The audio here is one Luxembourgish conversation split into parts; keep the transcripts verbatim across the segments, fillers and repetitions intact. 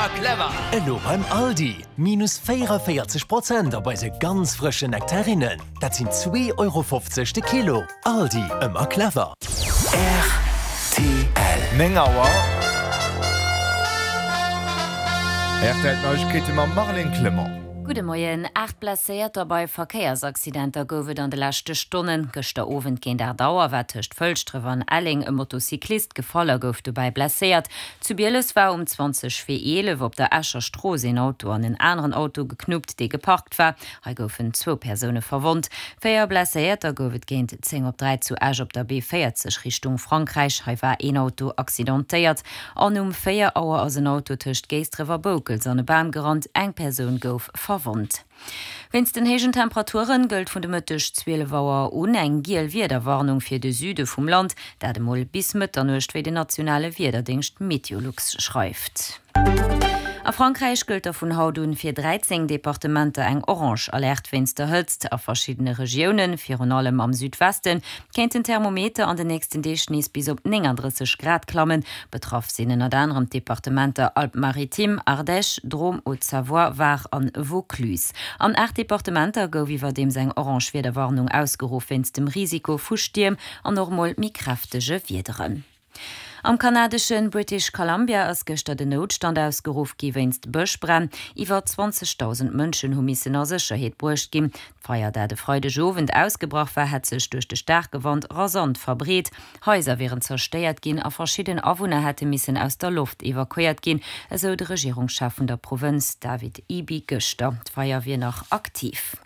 Ëmmer clever! Elo beim Aldi, minus véierunvéierzeg Prozent op eise ganz frëschen Nektarinnen. Dat sinn zwee Euro fofzeg de Kilo. Aldi, ëmmer clever! R T L. Néng Auer. R T L Neiegkeete mam Marlène Clement. Gudde Moien. Aacht Blesséierter bei Verkéiersaccidenter gouf et an de leschte Stonnen. Gëschter Owend géint aacht Auer war tëscht Fëlschdref an Elleng e Motocyclist gefall a gouf dobäi blesséiert. Zu Bieles war um zwanzeg vir eelef op der Escher Strooss een Auto an en aneren Auto geknuppt, dee geparkt war. Hei goufen zwou Persoune verwonnt. Véier Blesséierter gouf et géint zéng op dräi zu Esch op der B véierzeg Richtung Frankräich. Hei war een Auto accidentéiert. An um véier Auer ass en Auto tëscht Géisdref a Boukels an e Bam gerannt. Eng Persoun gouf verwonnt. Wéinst den héijen Temperature gëllt vun de Mëtteg zwielef Auer un eng giel Wiederwarnung fir de Süde vum Land, dat emol bis Mëtternuecht, wéi den nationale Wiederdéngscht Meteolux schreift. A Frankräich gëllt da vun haut un fir dräizéng Departementer eng orange Alerte wéinst der Hëtzt. A verschiddene Regiounen, virun allem am Südwesten, kéint den Thermometer an den nächsten Deeg nees bis op nénganddrësseg Grad klammen. Betraff sinn ënnert anerem d'Departementer Alpes-Maritimes, Ardèche, Drôme, Haute-Savoie, Var an Vaucluse. An aacht Departementer gouf iwwerdeems eng orange Wiederwarnung ausgeruff wéinst dem Risiko vu Stierm an och mol méi kräftege Wiederen. Am kanadesche British Columbia ass gëschter den Noutstand ausgeruff gi wéinst Bëschbränn. Iwwer zwanzegdausend Mënschen hu missen a Sécherheet bruecht ginn. D'Feier, dat e Freidegowend ausgebrach war, hätt sech duerch de staarke Wand rasant verbreet. Haiser wieren zerstéiert ginn a verschidden Awunner hätte missen aus der Loft evakuéiert ginn, esou de Regierungschef vun der Provënz David Eby gëschter. D'Feier wier nach aktiv.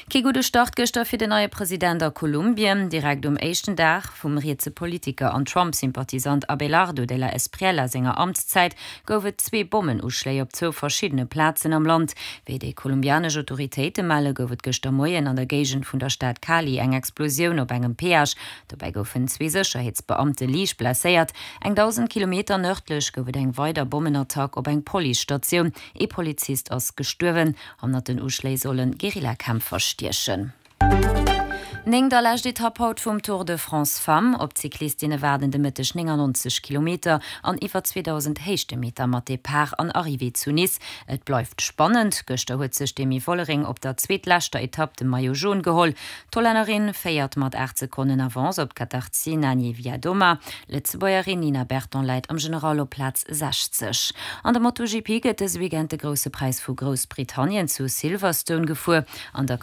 Kee gudde Start gëschter fir den neie President a Kolumbien. Direkt um éischten Dag vum rietse Politiker an Trump-Sympathisant Abelardo de la Espriella senger Amtszäit gouf et zwee Bommenuschléi op zwou verschiddene Plazen am Land. Wéi déi kolumbianesch Autoritéite melle gouf et gëschter Moien an der Géigend vun der Stad Cali eng Explosioun op engem Peage. Dobäi goufen zwee Sécherheetsbeamte liicht blesséiert. Eng dausend Kilometer nërdlech gouf et eng weider Bommenattack op eng Policestatioun. Ee Polizist ass gestuerwen. Hannert den Uschléi solle Guerillakämpfer stiechen. Néngt a lescht Etapp haut vum Tour de France Femmes. Op d'Cyclistinne waarden de Mëtteg néngannonzeg Kilometer an iwwer zweedausend Héichtemeter mat Depart an Arrivée zu Nice. Et bleift spannend, Gëschter huet sech d'Demi Vollering op der zweetleschter Etapp de Maillot Jaune geholl. D'Hollännerin féiert mat aacht Sekonnen Avance op d'Katarzyna Niewiadoma. D'Lëtzebuergerin Nina Berton läit am General op Plaz sechzeg. An der MotoGP gëtt dëse Weekend de Grousse Präis vu Groussbritannien zu Silverstone gefuer. An der